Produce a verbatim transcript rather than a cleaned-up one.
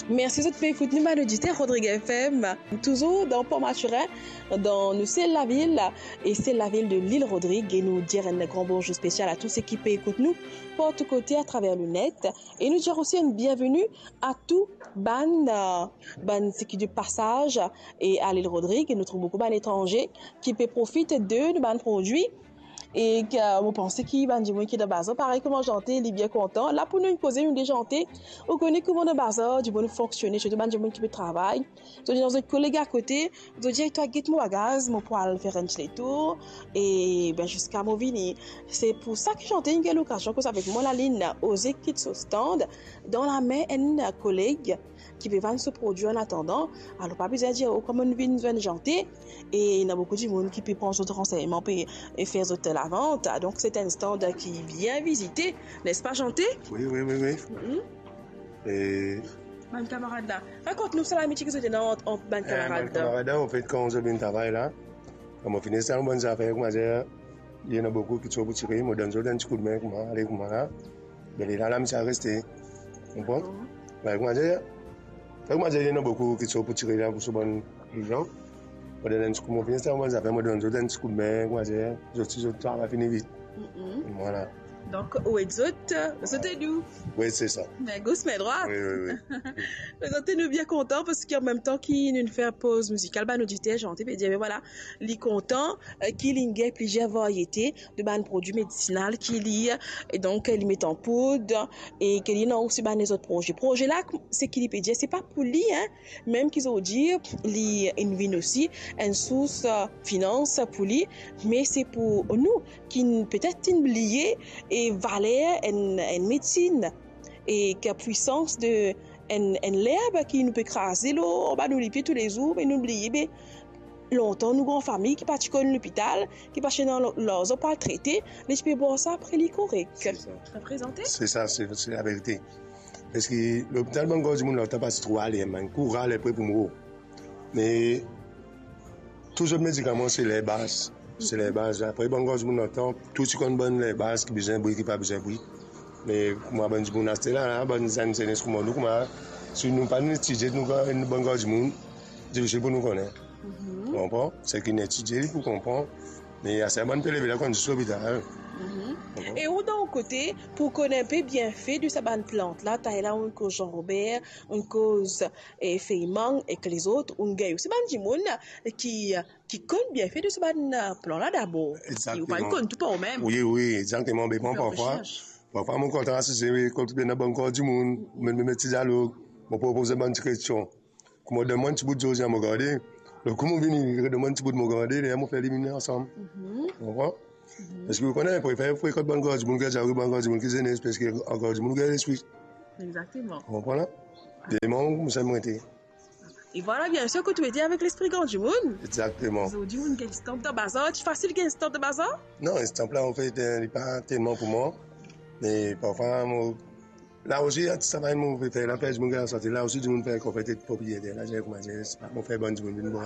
Mersi zot pe ekout nou, bann oditer Rodrig F M. Touzour dan Port Mathurin, dan nou sel lavil, e sel lavil de Lil Rodrig. E nou dir enn gran bonzour spesial a tou seki pe ekout nou partou kote atraver le net. E nou dir osi enn bienveni a tou bann, euh, bann seki de pasaz e a Lil Rodrig. E nou trouv boukou bann etranze ki pe profit de nou bann prodwi. E ke, mo panse ki bann dimoun ki dan bazar, parey kouma Zante, li bien kontan. La pou nou inn koze nou de Zante, ou kone kouma dan bazar dimoun fonksionn, sirtou bann dimoun ki pe travay. Zot dir lor zot koleg akote, zot dir, "Twa get mo bagaz, mo pou al fer enn ti letour, e ben, ziska mo vini." Se pou sa ki Zante inn gagn lokazion koz avek mwa, li inn oze kit so stand dan lame enn koleg ki pe vann so prodwi an atandan. Alor, pa bizin dir, "Oh, kouma nou vinn zwenn Zante?" E ena boukou dimoun ki pe pran zot ransegnman, pe, e fer zot lavant. Ah, donk, se enn stand ki bien vizite, nespa, Zante? Wi, wi, wi, wi. Mhm. E bann kamarad la, rakont nou sa lamitie ki zot ena ant, ant bann, eh, kamarad bann la. Kamarad la, anfet, kan zot vinn travay la, kan mo fini sal mo bann zafer, kouma dir, ena boukou ki ti pou tire, mo donn zot enn ti koudme, kouma, ale, kouma la. Be lerla, lamitie reste. Konpran? Dakor. Be, kouma dir, be, kouma dir, ena boukou ki ti pou tire la pou so bann lezan. Mo donn enn ti koudme, fini sal mo bann zafer, mo donn zot enn ti koudme, kouma dir, zot, si zot travay fini vit. Mhm. Vwala. Donk, ou ed zot, zot ed ou. Wi, se sa. Me gos, me drwat. Wi, wi, wi. Prezant nou bien kontan, parski an mem tan ki nou fer poz mizikal, bann oditer Zante pe dir, be vwala, li kontan, eh, ki li gagn plizier variete de bann prodwi medisinal ki li, e donk, li met an poud, e ke li ena osi bann lezot proze. Proze la, seki li pe dir, se pa pou li, hein, mem ki zordi li inn vinn osi enn sours, eh, finans pou li, me se pou nou ki petet inn bliye e valer enn, enn medsin, e ki pwisans de enn, enn lerb ki nou pe kraze lor, anba nou lipie toulezour, me nou bliye, be, lontan nou gran fami ki pa ti konn lopital, ki pa ti ena larzan pou al trete, li ti pe bwar sa, apre li korek. Se sa. Reprezante? Se sa, se, se laverite. Parski lopital, bann gran dimoun lontan pa ti tro ale, mem kour ale pre pou mor. Me tou zot medikaman, se lerbaz. Se lerbaz. Apre, bann gran dimoun lontan, tou ti konn bann lerbaz ki bizin bwi, ki pa bizin bwi. Me kouma bann dimoun aster la, la, bann zenn zenes kouma nou, kouma, si nou pa'nn etidie, nou, bann gran dimoun, difisil pou nou kone. Mhm. Ou konpran? Seki inn etidie, li pou konpran. Me aster bann pe leve la, konn zis lopital. Mhm. Konpran? E ou, dan ou kote, pou kone enpe bienfe de sa bann plant la, taler la, ou koz Jean Robert, ou koz, eh, fey mang ek lezot, ou gagn osi bann dimoun ki, ki konn bienfe de sa bann, eh, plant la dabor. Parski ou pa'nn konn tou par ou mem. Wi, wi, exakteman. Be mwa, parfwa, parfwa, mo kontan asize kot ena bann gran dimoun, mem, mem ti dialog, mo propoz bann ti kestion. Kouma donn mwa enn ti bout zordi, mo gade. Donk, kouma vini, donn mwa enn ti bout, mo gade, lerla mo fer li vini ansam. Mhm. Ou konpran? Mhm. Parski ou kone, prefer frekant bann gran dimoun, gard bann gran dimoun ki zenes, parski gran dimoun gagn lespri. Exakteman. Ou konpran la? Demann, koumsa mo ete. E vwala, biensir, kot ou ete avek lespri gran dimoun. Exakteman. Zordi, ou gagn stand dan bazar, ti fasil gagn stand dan bazar? Non, stand la, anfet, eh, li pa telman pou mwa. Me parfwa, mo, la osi, a ti travay mo pe fer la, fer dimoun gagn lasante. La osi, dimoun fer konfet ek propriyeter la, dir kouma dir, se pa mo fer bann dimoun vinn bwar